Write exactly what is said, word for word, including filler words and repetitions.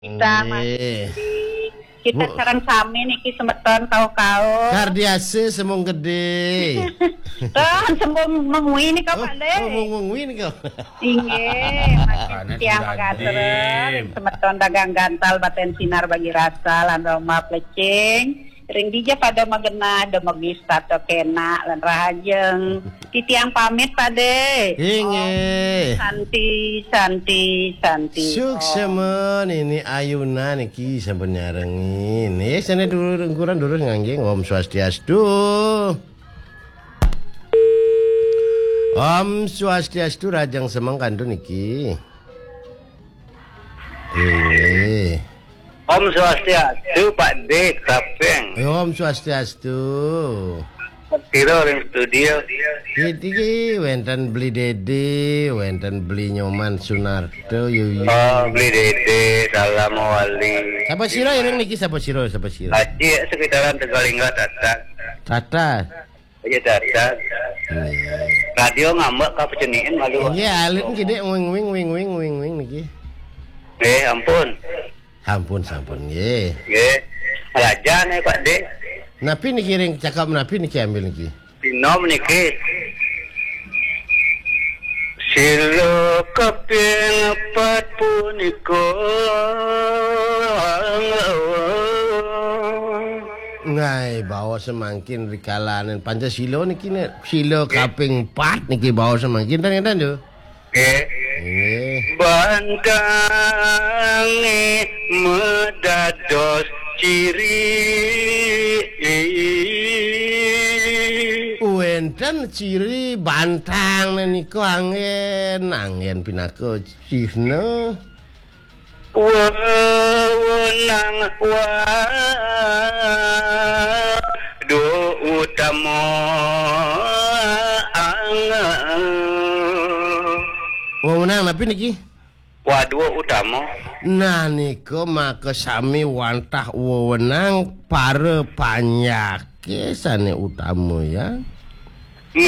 Kita Nggih. Kita Bu- sareng sami niki semeton kau-kau. Kardiase sembung gede. Kan sembung mengwi nika, Oh, Pak Le. Oh, mengwi nika. Inggih, Mas Tiang Magatreng, semeton dagang gantal baten sinar bagi rasa lan Roma Plecing. Ring dija pada magenah, demegis tato kena lan rahajeng. Titiang pamit, Pade. Inggih. Om Santi, Santi, Santi. Suksema nini ayuna niki sampun nyarengin. Nggih, sane dulur engkuran durus ngangging. Om Swastiastu. Om Swastiastu, rajang semeng kantun niki. Inggih. Om Swastiastu, Pak De, Kapeng. Om Swastiastu. Piro ring studio? Iki wenten Beli Dede, wenten Beli Nyoman Sunarto, yuyu. Oh, Beli Dede, salam wali. Sapa sira iring niki, sapa sira, sapa sira? Haji, sekitaran Tegalingga, Tatak. Tatak. Iya, Tatak. Iya. Radio ngambek kapeceniin malu. Nggih, alit niki, Dek, wing, wing, wing, wing, wing, wing niki. Eh, ampun. Sampun, sampun, nggih. Nggih. Raja nih, Pak De. Napi niki ring cakap napi niki ambil niki? Sinom niki. Sila kaping empat punika. Ngai, bawa semangkin rikalanen Pancasila niki, nek sila kaping empat niki bawa semangkin, ten ngeten, Tu. Nggih. Nggih. Bantange medados ciri. Wenten ciri bantang nika anggen, anggen pinaka cihna. Wewenang wadu utama. Wewenang napi niki? Wadu utama. Nah, nika maka sami wantah wewenang para panyake sane utama, ya.